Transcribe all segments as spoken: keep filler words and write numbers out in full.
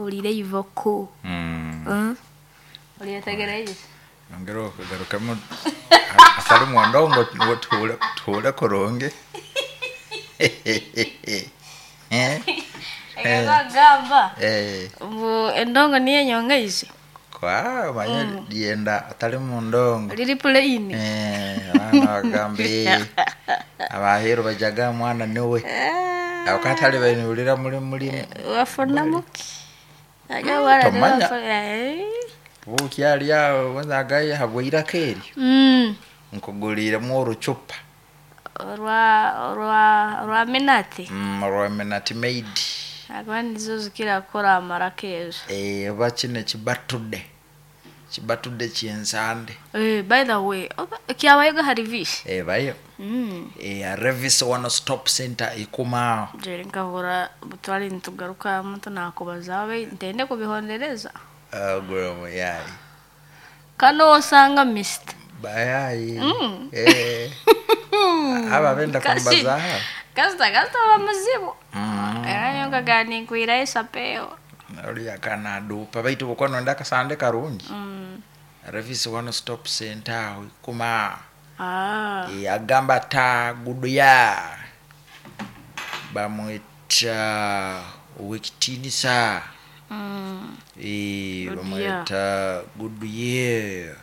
Olire ivoko. Mm. Mm. Olyetegereize. Ongera okugarukamu atali mwondongo ngu tuhure tuhure kurungi. Eh? Ekagamba Eh. mbu endongo niyo enyongeize. Kwa manya lyenda atali mundongo. Liri plain. Eh, abaana bagamba eh, abaheru bajaga mwana niwe. Eh, Aho katali bainulira muli muli wafunamuki Ajya wala Tomanya. eh. buki alya wenzagaye habwiraka eryo. Mm. Nkuguliiremu orucupa. Orwa orwa orwa minati. Mm, rwa Minute Maid. Akuba nizo zikira kukora amaraka ezo. Eh, oba kino ekibatudde. Kibatudde ky'ensande. Eh, by the way, oba kyabayoga hari visi. Ebayo. Mm. Eh, Revis One Stop Center ikuma aho. Jeri nkahura butwari nitugaruka muntu nakubaza abe ntende kubihondereza. Agura muyayi. Kano osanga mist. Bayayi. Mm. Eh. Aba benda Kasi- kumbaza aha. Kasita kasita ba muzibu. Mm. Era nyoka gani nkwira esapeo. Oli akanadupa baitu bukono ndakasande karungi. Mm. Revis One Stop Center aho ikuma. Ah. Eh, agamba ta guduya. Bamwita Owekitiinisa. Mm. Eh, Goodyear. bamwita Goodyear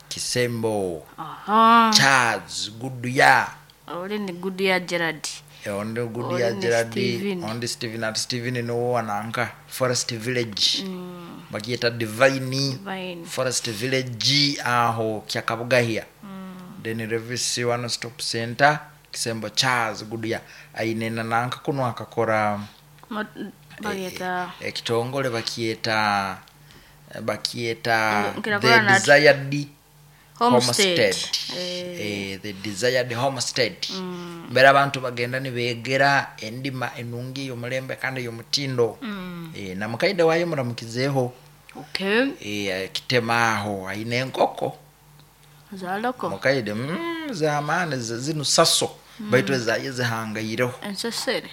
Kisembo Aha. Charles Goodyear. Oli ni Goodyear Gerard. Eh, ondi Goodyear Oli ni Gerard, Steven. ondi Steven ati Steven niwo wananka Forest Village. Mm. Bagyeta Divine Divine. Forest Village aho Kyakabugahia. Mm. Then Revis One Stop Center Kisembo Charles Goodyear aine na nanka kuno akakora Ma- Bagyeta ekitongole bakyeta bakyeta Nkira the kora na- desired homestead. homestead. Eh. Eh, the desired homestead. Mm. Mbere abantu bagenda nibegera endima enungi ey'omulembe kandi ey'omutindo. Mm. Eh, na mukaide wayo muramukizeeho. Okay. Eh, kitema aho aine enkoko Zaloko. mukaide mm, zamaani zi- zinu saso baitu ezaye zihangaireho. Ensesere.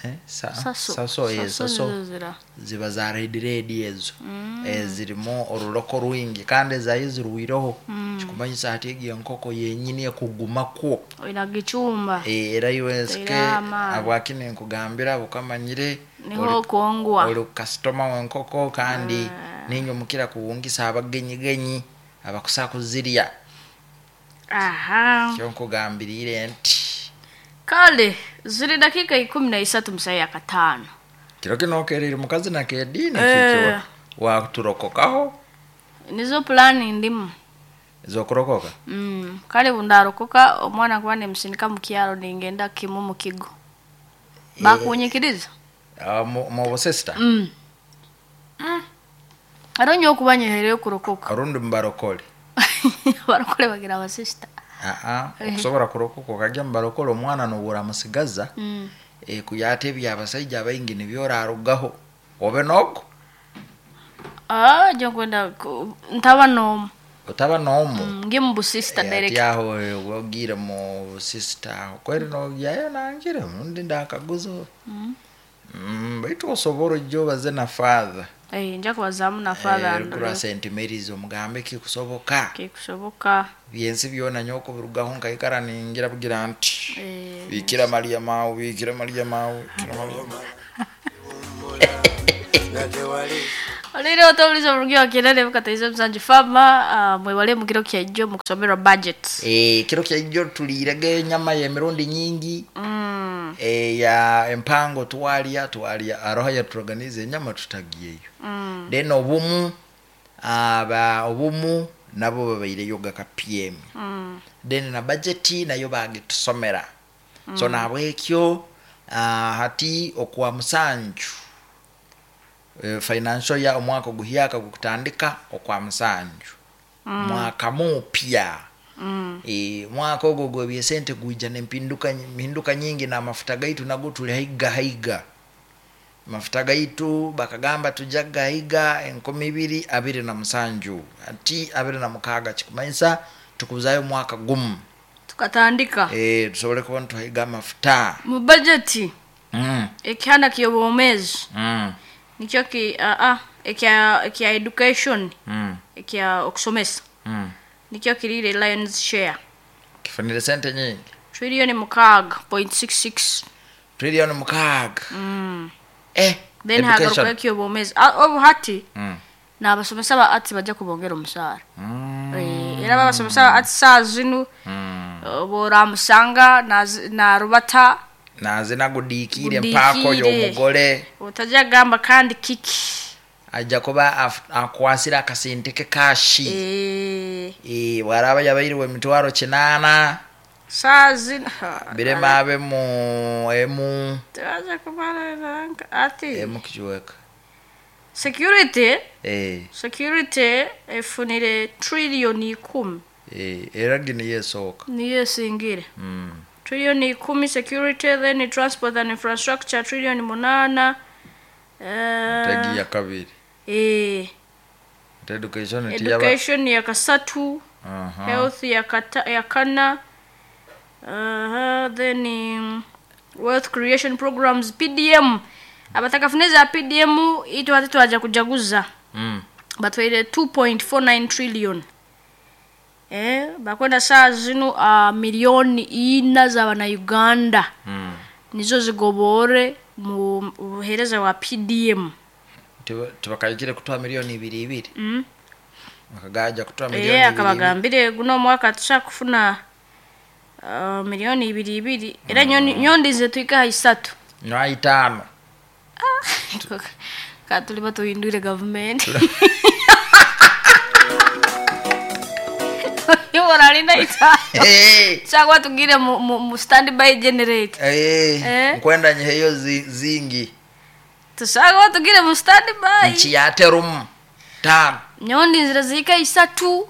Eh, sa, Saso. saso, eh, saso nizo zira. ziba za red red ezo. Mm. Eh, zirimu oruroko rwingi kandi ezaye zirwireho. Mm. Kikumanyisa hati egyo enkoko yenyini ekugumakwo. Oina gichumba. Eh, era iwe nsike Teira amaani. habwaki ninkugambira bukamanyire Niho kwongwa. oli kasitoma w'enkoko kandi Ah. ninye omukira kuwungisa abagenyigenyi abakusa kuzirya. Aha. Kyo nkugambiriire nti Kale ziri dakika ikumi na isatu musayi ya katano. kiro kino okerire mukazi nakediini Eh. kikyo waturokokaho Nizo plani ndimu. zokurokoka. Mm. Kale bundarokoka omwana kuba nemusindika mu kyalo ningenda kimu mu kigo. Bakunyikiriza? Ah, mu mu busisita Mm. Aro nyo okuba nyehereyo kurokoka. orundi mubarokole. Barokole bagira abasista. Aa, Eh. okusobora kurokoka okajya mubarokole omwana nobura musigaza. Mm. Eh, kuyata ebyabasaija baingi nibyo orarugaho obe nogo Ah, jo kwenda ku- ntaba nomu. otaba nomu. Mm, nge mu busista Eh, direct. ati aho eh, ogiire mu busisita aho kweri nogyayo nangire undi ndakaguza. Mm. Mm, baitu osobora ojja obaze na father. Eh, nja kubazamu na father. Eh, kura St Mary's omugambe kikusoboka. Kikusoboka. Byensi byona nyoko birugaho nkaikara ningira bugira nti Eh. bikira Maria mawe, bikira Maria mawe, bikira Maria mawe. Olire otobuliza oburugi wa Kirere bukataiza musanju fama uh, mwebale mu kiro kyajjo mu kusomerwa budget. Eh, kiro kyajjo tuliirege enyama y'emirundi nyingi. Mm. Eh, ya empango twalya twalya aroho yaturoganize enyama tutagiyeyo. Mm. Then obumu aba obumu nabo babaireyo ga ka P M. Mm. Then na budget nayo bagitusomera. Mm. So nabwekyo uh, hati okwa musanju e, financial ya omwaka oguhyaka gukutandika okwa musanju. Mm. Mwaka mupya. Mm. E, mwaka ogwo gw'ebyesente gwija n'empinduka mpinduka nyingi na amafuta gaitu nago tuli haiga haiga. Mafuta gaitu bakagamba tujaga haiga enkumi ibiri abiri na musanju ati abiri na mukaaga kikumanyisa tukuzayo mwaka gumu. Tukatandika. Eh, tusobole kuba nituhaiga amafuta. Mu budget Mm. ekihanda ky'obwomeezi. Mm. Nikyo ki ah ah ekya ekya education Mm. ekya okusomesa Mm. nikyo kirire lions share Kifunire sente nyingi. trillion mukaaga point six six Trillion mukaaga. mm. Eh. Then hagaruka ekyobwomezi Ah, obu hati Mm. n'abasomesa ba ati bajja kubongera omusaara. Mm. Eh, era babasomesa ba ati saa zinu Mm. boramusanga narubata Nazina gudiikire Gudiikire. mpaako y'omugole. Otajja gamba kandi kiki Ajja kuba af- akwasira akasente ke kashi. Eh, Eh, bw'araaba yabairiwe emitwaro kinaana saa zino birema abe mu emu tebaja kumara ati emu kikiweka. Security Eh, security efunire trillion ikumi. Eh, era gini yesooka. Niyo esingire Mm. trillion ikumi security, then transport and infrastructure trillion munana. Eh, Tegi ya kabiri. Eh, Education tiyaba. Education ya kasatu. Aha. Health ya kata, ya kana. uh, then um, wealth creation programs P D M abatakafuneza P D M itu hati twaja kujaguza. Mm. Batwaire two point four nine trillion. Eh, bakwenda saa zino uh, milioni ina za wana Uganda. Mm. Nizo zigobore mu buhereza wa P D M. Tubakayikire kutoa milioni ibiri ibiri. Mm. Akagaja kutoa milioni Eh, ibiri. akabagambire guno mwaka tushakufuna uh, milioni ibiri ibiri. Era nyoni nyondi ze tuika isatu. Na itano. Ah. Katuli batuhindure government. Yoralinda itano. Hey. Chagwa tugire mu, mu, mu standby generator. Eh. Eh. Nkwenda nyeyo zi, zingi. Tusagwa tugire mu standby. Nchi ya terum. Tano. Nyondi nzira zika isatu.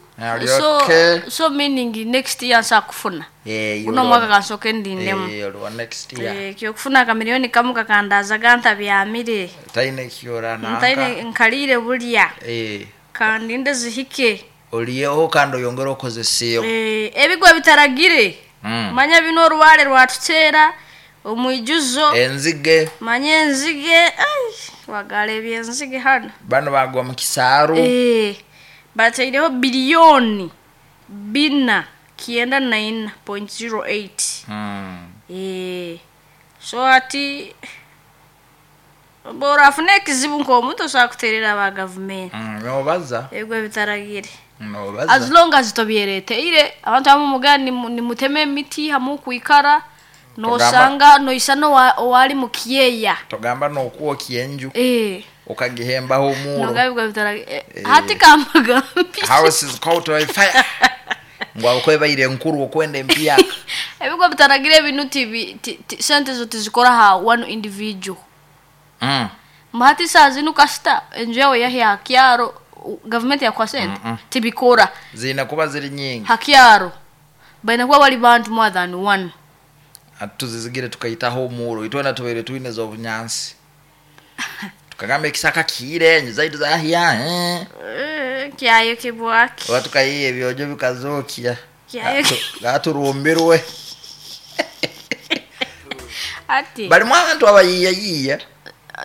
So Okay. so meaning next year nsakufuna. Eh, Uno mwaka kansoke ndindemu. Eh, olwa next year. Eh, kyo kufuna ka milioni kamu kakandaza ganta byamire. Taine kiora na. Ntaine nkalire bulya. Eh. Kandi ndazihike. Oliyeho kandi oyongera okozeseyo. Eh, ebigwa bitaragire. Mm. Manya bino oruwale rwatutera omwijuzo. Enzige. Manya enzige. Ai, wagale byenzige hano. Bano bagwa mu kisaaru. Eh. Bataireho bilioni bina kienda nine point zero eight. Mm. Eh. So ati bora afune ekizibu nk'omuntu osobola kuterera aba government. Mm, nobaza. Ebigwa bitaragire. Nobaza. As long as tobyereteire abantu abamu mugani nimuteme emiti hamu kuikara nosanga noisa no wali mukiyeya. Togamba nokuokia enju. Eh. Okagihembaho omuro. Nogabigwa bitaragire. Eh. Hati kamagambi. House is caught by fire. Ngwa okwebaire enkuru okwenda empyaka. Ebigwa bitaragire binu tibi sente zo tizikora ha one individual. Mm. Mahati saa zinu kasita enju yawe yahi hakyaro government yakwa sente mm -mm. Tibikora zina kuba ziri nyingi hakyaro baina kuba bali bantu more than one. Atuzizigire tukaitaho omuro itwena tubaire twine zo bunyansi tukagamba ekisaka kiire enju zaitu zahiya eh eh kyayo kibwaki watu kayiye ebyojo bikazokia kyayo gaturumbirwe ati bali mwantu abayiya yiya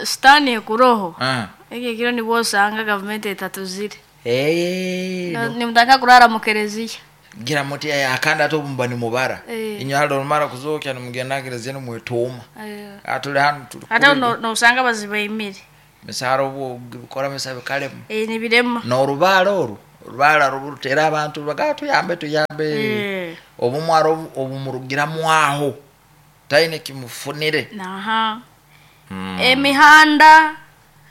stani kuroho ah eke kiro ni bosanga government etatuzire eh no, nimutaka kurara mu kereziya gira muti akanda atobumba ni mubara eh. Inyo halo mara kuzokya nimugenda kereziya nimwetoma eh. Atuli hanu tuli ata no, no usanga bazibayimire misaro obwo bikora misabe kalemu eh ni birema no rubala oru rubala rubutera abantu bagatu yambe tuyambe eh. Obumwaro obumurugira mwaho taine kimufunire naha mm. Emihanda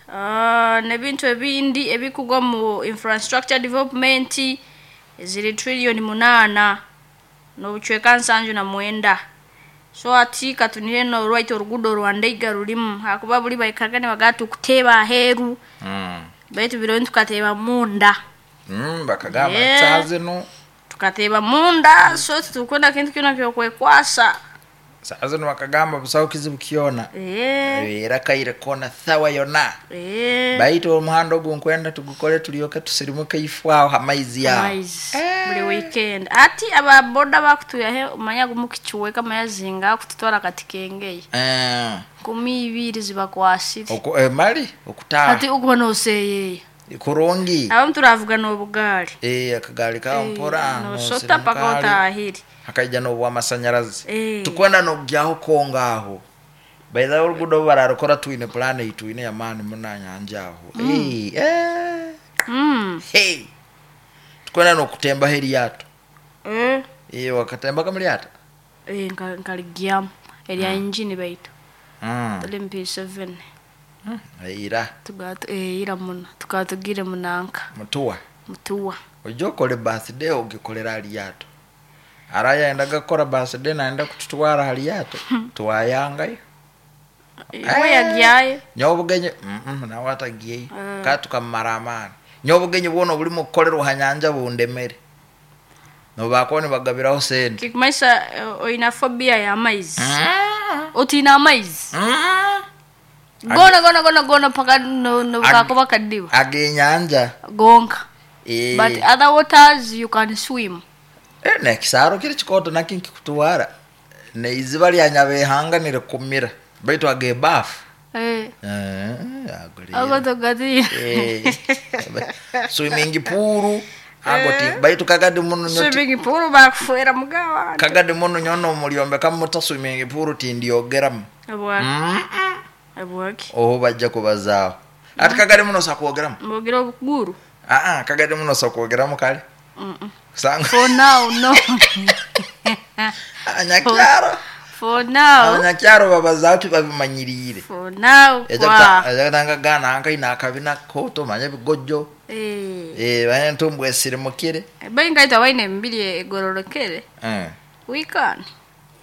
uh, nebintu ebindi ebikugwa mu infrastructure development ziri trillion munana nobuchweka nsanju na mwenda. So ati katunire no right orugudo rwandeiga rulimu hakuba buli baikagane bagatu kuteba heru mm. Baitu biro tukateba munda mm, bakagamba yeah. Sazino tukateba munda so tukwenda kintu kyona kyokwekwasa sazino bakagamba busawo kizibu kiona eh era kaire kona thawa yona eh baitu omuhando ogu nkwenda tugukole tulyoke tusirimuke ifwaho hamaizi yao eh Buli weekend ati ababoda bakutuyahe omanya gumukicuweka mayazinga kututwara kati kengeye Eh, kumi ibiri zibakwasire oku- eh, mali okutaha ati ukuba noseyeya kurungi. abamu turavuga n'obugaali. Eh, akagaali kawo mpora nosota paka otahire. Hakaija n'obwamasanyarazi. Eh. Tukwenda nokugyaho konga aho baitha orugudo bararukora twine plan itwine yamaani munanyanja aho. Eh, eh. Mm. Hey. Tukwenda nokutembaho eryato. Eh. Eh, wakatembaga mulyato? Eh, nka- nkaligyamu erya injini baitu Mm. tuli M P seven. Ira. Tugatu eh, ira muno tukaba tugire munanka. Mutuwa. Mutuwa. Ojja okole birthday ogikolera halyato ara yaendaga kukora birthday naenda kututwara halyato twayangayo. We yagyayo. Nyobugenyi mm nawe atagiyeyo ka tukamara amaani. Nyobugenyi bwona obulimu kukolerwa ha nyanja bundemere nobakuba nibagabiraho sente. Kikumanyisa eh, oyina phobia y'amaizi, otiina amaizi gona gona gona gona paka no- no- kakuba kadiba. Ag'enyanja. Gonka. Eh. But other waters you can swim. Eh, nekisaro kiri kikoto nakyo nkikutwara neiziba lya nyabehanga nirikumira baitu agebafu. Eh, Eh, ago ago rero. togatiina. Eh, swimming pool ago ti baitu kagadi muno nyo ti- Swimming pool bakufuera mugawa. Kagadi muno nyono omulyombeka muta swimming pool tindyogeramu. Abwaki? Mm. Abwaki? Oho bajja kubazaaho ati kagadi muno sakwogeramu. Mbogira obuguru. Aa, kagadi muno sakwogeramu kale kusanga. For now, no. Abanyakyaro. For now. Abanyakyaro babazaaho tibabimanyiriire. For now kwa Ejakutanga gana ankaina akabina koto manya ebigojjo. eh Eh, banye ntumbwe esirimukire. Baingaita waine emibiri egororokere. Eh. Wikani.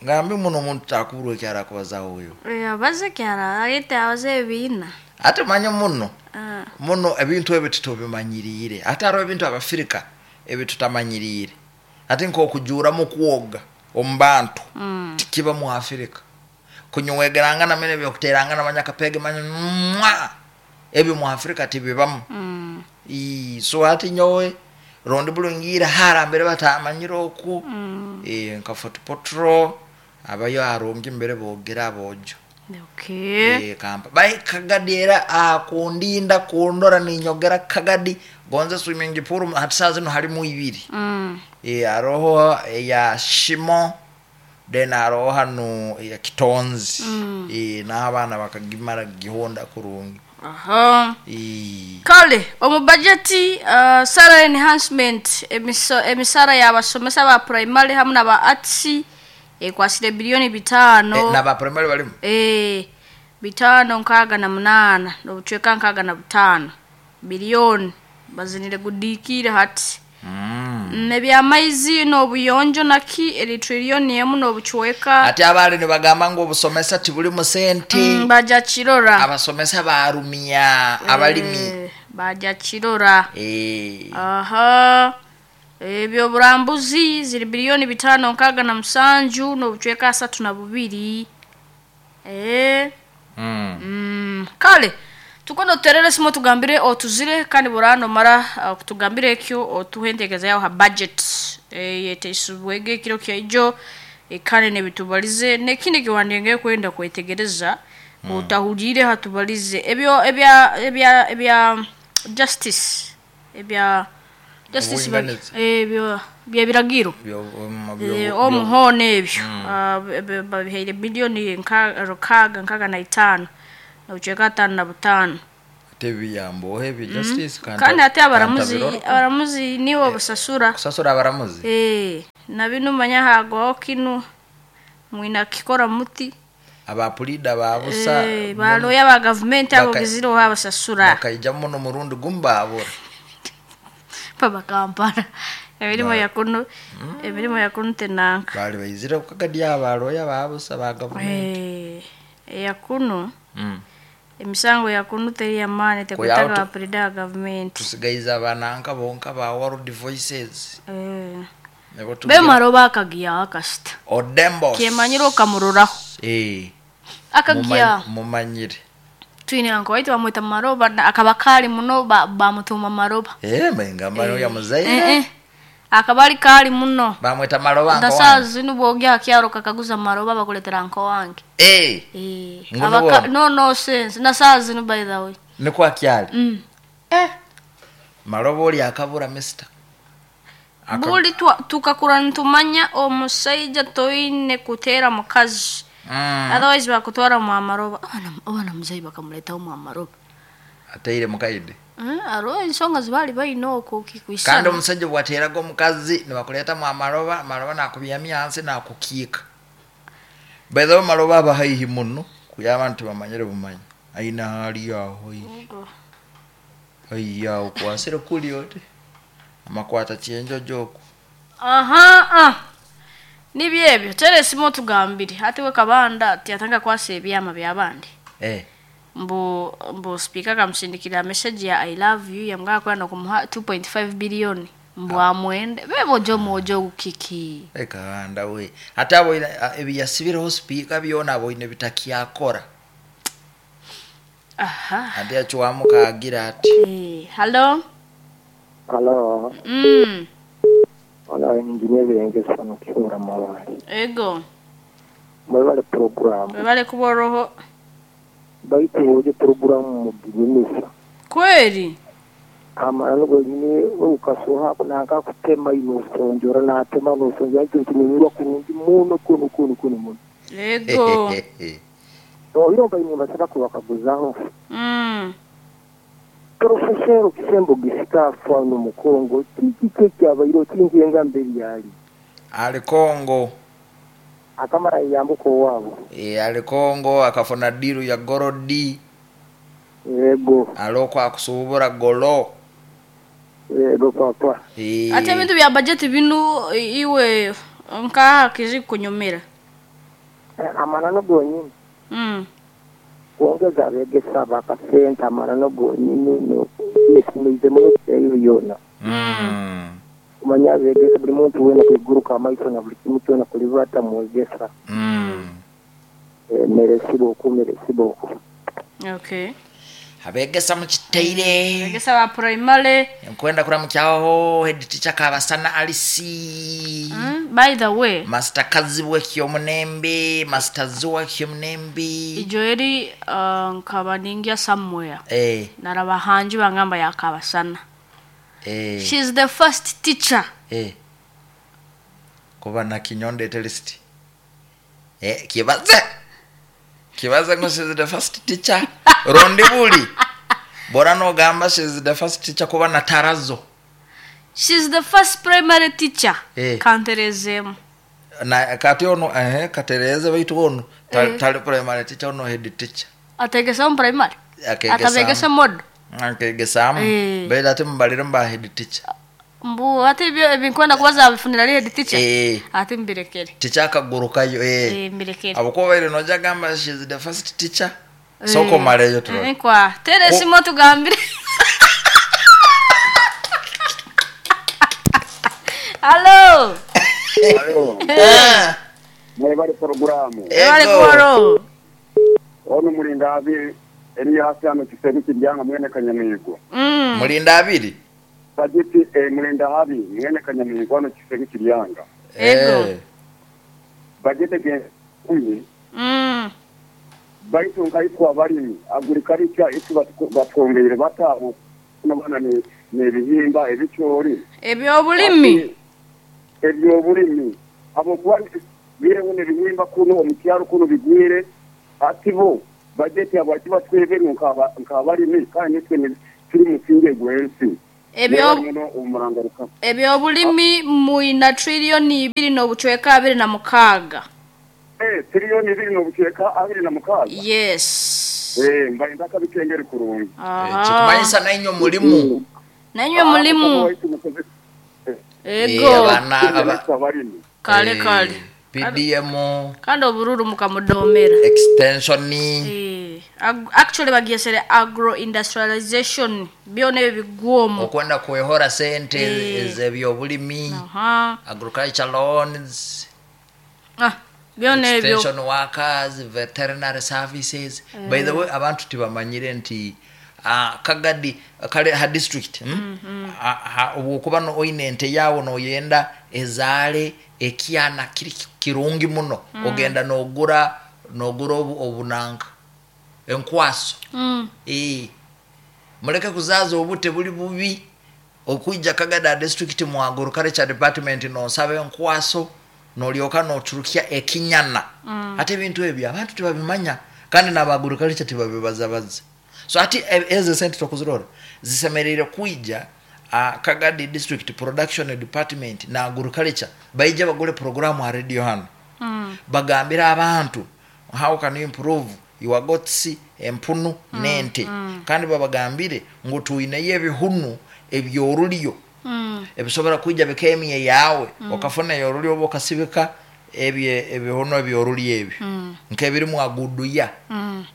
Ngambi muno omuntu takuburwa ekyaro akubazaho oyo. Eh, abaze kyara agete abaze ebiina. Ate manye muno Ah. muno ebintu ebyo tutobimanyiriire ate hariho ebintu abafirika ebitutamanyiriire ate nk'okujuuramu kwoga omu bantu. Mm. Tikiba mu Afirika kunywegerangana mene ebyokuterangana manya akapege manya mwa ebyo mu Afirika tibibamu. Mm. Ii, so ati nyowe rondi bulungiire harambere batamanyire oku. Mm. Eh, nka Fort Portal abayo arungi mbere bogera abojo. Okay. Eh, kampa bai kagadi era akundinda kundora ninyogera kagadi gonze swimming pool hati saa zino halimu ibiri. Mm. Eh, hariho eya shimo then hariho hano eya kitonzi. Mm. Eh, n'abaana bakagimara gihonda kurungi. Aha. Eh, Kale omu budget uh, salary enhancement emiso, emisara y'abasomesa ba primary hamwe n'aba arts ekwasire biliyoni bitaano. Eh, n'aba primary balimu. Eh, bitaano nkaaga na munaana n'obucweka nkaaga na butaano biliyoni bazinire gudiikire hati. Mm. Mm, ebyamaizi n'obuyonjo naki eri triliyoni emu n'obucweka. Ate abaali nibagamba ngu obusomesa tibulimu sente. Mm, baja kirora. Abasomesa barumya abalimi. Eh, baja kirora. Eh, Aha, ebyo burambuzi ziri biliyoni bitaano nkaaga na musanju n'obucweka asatu na bubiri. Eh, mm. mm, kale tukondo tuterere simu tugambire otuzire kandi burano mara uh, kutugambire ekyo otuhe entekereza yaho ha budget eh, yeteisibwege ekiro kyaijo eh, kandi nebitubalize nekindi kiwandenge kwenda kwetegereza mm. Otahulire hatubalize ebyo ebya ebya ebya justice ebya justice ba- Obwinganiza. ebyo byebiragiro. Byo- um, Eh, byo- omuhono ebyo Ah, b- b- babihaire biliyoni nka- rukaaga nkaaga na itaano nobucweka ataano na butaano. Ate ebiyambo ebyo justice kanta- Kandi ate abaramuzi kantabirora. Abaramuzi nibo busasura. Kusasura abaramuzi. Eh, na binu manya hagwaho kinu mwina kikora muti. Abapulida babusa. Eh, baloya ba gavumenti abo Baka- giziroho abasasura. Bakaija muno murundi gumu babura. Paba Kampala emirimu yakuno emirimu yakuno tenanka. Bali baizire kukagadi abaloya babusa ba gavumenti. Eh, eyakuno Mm. emisango yakuno teri yamaani Kuyaho tekwetaga tu- bapulida ba gavumenti. Tusigaiza abananka bonka ba World Voices. Eh. Nibo tugira- Bemaro bakagiyaho akasita. Odembos. Kemanyire okamuroraho. Eh, Akagiyaho. mumany- mumanyire. Twine anko waitu bamwita maroba na- akaba kali muno ba- bamutuma maroba. Eh, mengamba ya Eh, muzaire. eh. Akabali kali muno. Bamweta Maloba nko Ndasa wange. zinu bwogya kyaro kakaguza Maloba bakuletera nko wange. Eh. Eh. Ngono Abaka wo. no no sense. Na zinu by the way. Niko akyali. Mm. Eh. Maloba oli akabura mister. Aka- Buli tukakura ntumanya omusaija toine kutera mukazi. Mm. Otherwise bakutwara mu amaroba. Abana abana muzai bakamuletaho mu amaroba. Ateire mukaide. Eh, aro ensonga zibali bayina okwo kikwisana. Kandi omusajja bwateraga omukazi nibakuletamu amaloba, amaloba nakubyamya hansi nakukiika. By the way maloba aba haihi muno kuya abantu bamanyire bumanyi. Aina hali aho haihi. Haihi aho kwasire kuli ote. Amakwata kyenjojo okwo. Aha ah. Nibyo ebyo teresimu tugambire ate we kabanda tiyatanga kwasa ebyama byabandi. Eh. Mbu mbu speaker kamusindikira message ya I love you yamugaka kwenda kumuha two point five billion mbu amwende bebo jo mojo kiki. Eh kabanda we ate abo ebiyasibireho speaker byona abo ine bitakyakora. Aha. Ate achuamuka agira ati. Eh, hello. Hello. Mm. Ona engineer birengesa no kihura mawali. Ego. Mwebale program. Mwebale kuboroho. Baitu oje program muginyumisa. Kweli? Amara nugo nyine ukasoha naka kutema inosonjora na atema nosonjora cyo kinyurwa kurungi muno kuno kuno kuno muno. Ego. No iromba imwe basaba kubakaguzaho. Mm. Professor Kisembo gisika afano mu Kongo kiki kyabairo kingenga mbere yali. Ali Kongo. Akamara yambuko wabo. E, ali Kongo akafuna diru ya gorodi. Yego. Aloko akusubura golo. Yego papa. E. Ate bintu bya budget binu iwe nka kizi kunyumira. Amana no gonyini. Mm. Kuongeza abegesa bakasenta amana no gonyini no nesimize mu eyo yona. Mm. Kumanya abegesa buli muntu wena kwiguruka amaiso na buli kimu kyona kulibata mwegesa. Mm. E, meresibo ku meresibo ku. Okay. Abegesa mukiteire. Abegesa ba primary. Nkwenda kura mukyaho head teacher kabasana Alice. Mm, by the way. Master Kazibwe Kyomunembe, Master Zuwa Kyomunembe. Ijoeri uh, nkaba ningia somewhere. Eh. Naraba hanji bangamba ya kabasana. Eh. She's the first teacher. Eh. Kuba na kinyonde list. Eh, kibaze. Kibaze ngo she's the first teacher. Rondi buli. Bora no gamba she's the first teacher kuba na tarazo. She's the first primary teacher. Eh. Kanterezemu. Na kati ono eh katereze baitu ono ta, Eh. tali primary teacher ono head teacher. Ategesa mu primary. Akegesa. Atabegesa mod. Akegesa. Eh. Bela ati mbalire mba head teacher. Mbu ate ebyo ebinkwenda kubaza bifunira ali head teacher. Eh. Ate mbirekere. Teacher akagurukayo eh. Eh mbirekere. Abuko baire noja gamba she's the first teacher. Soko maleyo tulo. Eh kwa teresimu tugambire. Hello. Hello. Ah. Mwebale programu. Mwebale kuboro. Ono mulinda abiri eri hasi ano kiseru kiryanga mwene kanyamigo. Mm. Mulinda abiri. Bajeti eh, mulinda abiri mwene kanyamigo ano kiseru kiryanga. Ego. Eh. Bajeti ke kumi. Mm. Baitu nkaitwa abalimi agriculture itu batwongeire batabo nabana ni nebihimba ebicyori. Ebyobulimi. Ebyobulimi. Abo kwa bireho nebihimba kuno omukyaro kuno bigwire ati bo bajeti abo ati batweberu nkaba nkabalimi kandi nitwe turi musinge gwensi. Ebyo ebyobulimi muina trillioni ibiri no buchweka abiri na mukaga. Eh, trillioni ibiri no buchweka abiri na mukaga. Yes. Eh, mbaye ndakabikengeri kurungi. Eh, kikumanyisa na inyo mulimu. Na inyo mulimu. Ego. Kale kale. P D M Kandi obururu mukamudomera. Extension. Eh, actually bagiesere agro industrialization byone bigwomo. Okwenda kuehora sente ebyobulimi. Aha. Agriculture loans. Ah, byone ebyo. Extension workers, veterinary services. Mm. By the way, abantu tibamanyire nti uh, Kagadi kale ha district mm? mm -hmm. Obwokuba no oine ente yawe noyenda ezaale ekyana kiri kirungi muno mm. Ogenda nogura nogura obu, obunanka enkwaso mm. E, muleke kuzaza obute buli bubi okwijja Kagadi district mu agriculture department nosaba enkwaso nolyoka noturukia ekinyana mm. Ate ebintu ebyo abantu tebabimanya kandi n'aba agriculture tebabibazabaza. So ati ezo sente tokuzirora zisemerere kwijja uh, Kagadi district production department na agriculture baija bagule programu ha radio hano mm. Bagambira abantu how can you improve your goats empunu mm. nente mm. Kandi babagambire ngu tuineyo ebihunu ebyorulyo mm. ebisobora kwijja bikemiye yawe mm. Okafuna yorulyo oba okasibika ebye ebihunu ebyorulyo ebyo mm. Nkebirimu aguduya mm.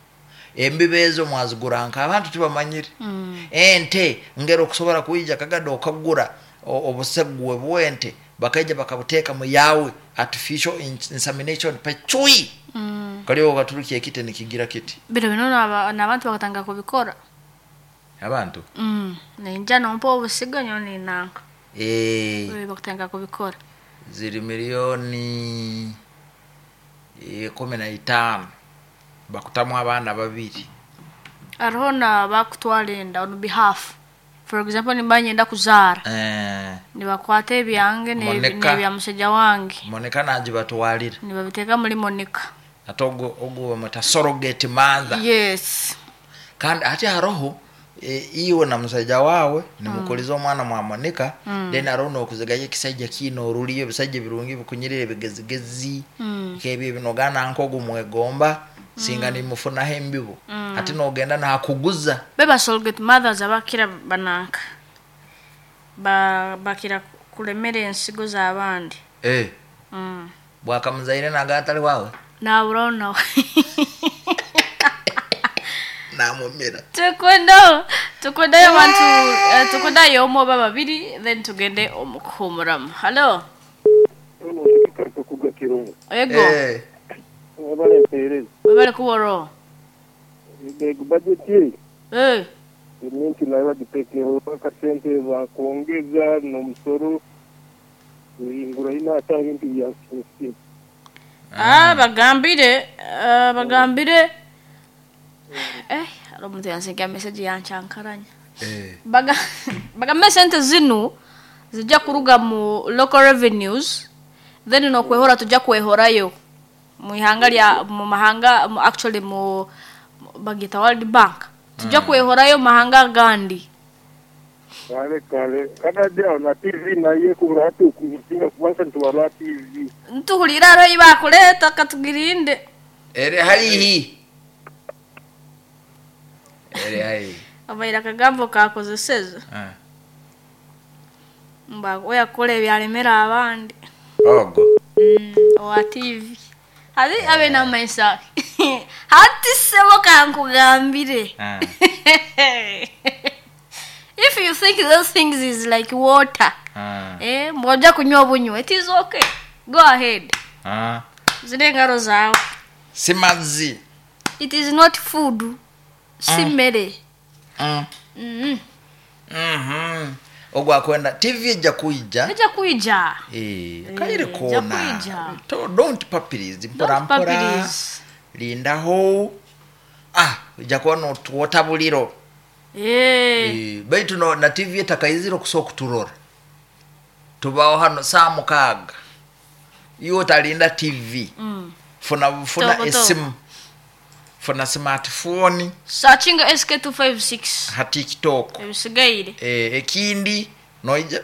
Embibe ezo mwazigura nka abantu tibamanyire mm. Ente ngero okusobora kwijja Kagadi okagura obusegwe bwente bakaija bakabuteeka mu yawe artificial insemination pachui mm. Kaliwo okaturukia ekite nikigira kiti bino bino n'abantu bakatanga kubikora abantu mm. Ninja nompa obusigo nyo ninanka eh bakatanga kubikora ziri milioni kumi na itaano bakutamu abaana babiri ariho na bakutwara enda on behalf. For example nimba nyenda kuzaara eh nibakwata ebyange nebya musajja wange Monica nagibatwalira nibabiteeka muri Monica ate ogwo ogwo bamweta surrogate mother. Yes. Kandi ate haroho e, iwe na musajja wawe nimukuliza omwana mwa Monica mm. Then aroho nokuzigayo ekisajja kiine oruliyo ebisajja birungi bikunyirira ebigezigezi mm. Nk'ebyo ebinogana nk'ogu mwegomba singa mm. nimufunaho embibo mm. Ate nogenda nakuguza beba surrogate mothers abakira bananka ba bakira kulemera ensigo z'abandi eh mm. Bwakamuzaire naga atali wawe naburaho nawe namumira tukundayo tukundayo abantu uh, tukundayo omu oba babiri then tugende omukuhumuramu. Hello ego eh Webale mpeereza. Webale kuboro. Ego budget ye. Eh. Gavumenti nayo bagiteekeho akasente bakwongeza n'omusoro ingura ina ebintu bya nsi. Ah bagambire uh, bagambire eh alo omuntu yansinga message yanchankaranya. Eh. Baga bagambe sente zinu zijja kuruga mu local revenues then nokwehora tujja kwehorayo mu ihanga lya mu mahanga mu actually mu bagita World Bank tujja mm. kwehorayo mahanga gandi kale kale kada aho na T V naye kubura hatu kusinga kubanza ntwara T V ntuhulira ro ibakuleta katugirinde ere harihi ere harihi abaira kagambo kakozeseza ah mba oya kole byalemera abandi ogo mm, owa T V hadi abe na maisa hati sebo kankugambire ah. If you think those things is like water ah. eh mboja kunywa bunywe it is okay, go ahead ah. Zile ngaro zawe simazi it is not food simere mm. mm. Mhm ogwa kwenda T V ejja kuija ejja kuija eh kaire ejja kona kuija. To, don't papiriz mpora Don't mpora papiriz. lindaho ah ejja kuba notuwota buliro eh Eh, baitu no, na T V etakaizire okusobola okuturora tubaho hano saa mukaaga iwe otalinda T V mm. funa funa Toko, toko. esimu funa smartphone searching S K two five six ha TikTok ebisigaire eh, ekindi noija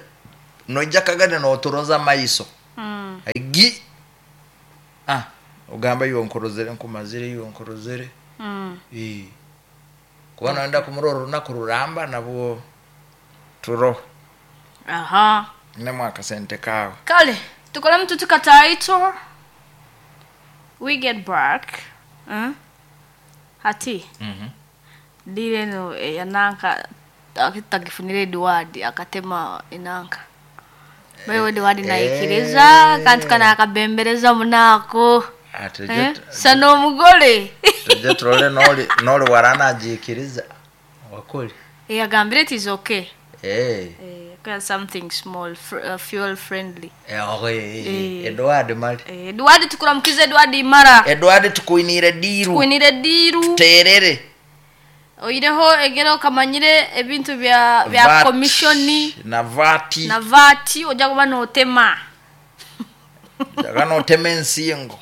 noija Kagadi noturoza maiso mm. gi ah ogamba iwe nkurozere nkumazire iwe nkurozere mm. eh kuba noenda kumurora olunaku ruramba nabwo turo aha nemu akasente kawe kale tukole mtu tukataito we get back mm? Hati mm dile no yananka akitagifunire Edward akatema inanka Wewe Edward naikiriza kantu kana akabembereza munako eh? Sana omugole tujye turole noli noli warana ajikiriza Wakoli. Yagambire it is okay. Eh. Eh, something small fr uh, fuel friendly. Eh, okay. Eh. Edward mali. Eh, Edward, tukuramukize Edward Imara. Edward, tukuinire diru. Tukuinire diru. Terere. Oireho egero kamanyire ebintu bya bya V A T, commission na vati na vati, ojja kuba notema. Jaga notema ensingo.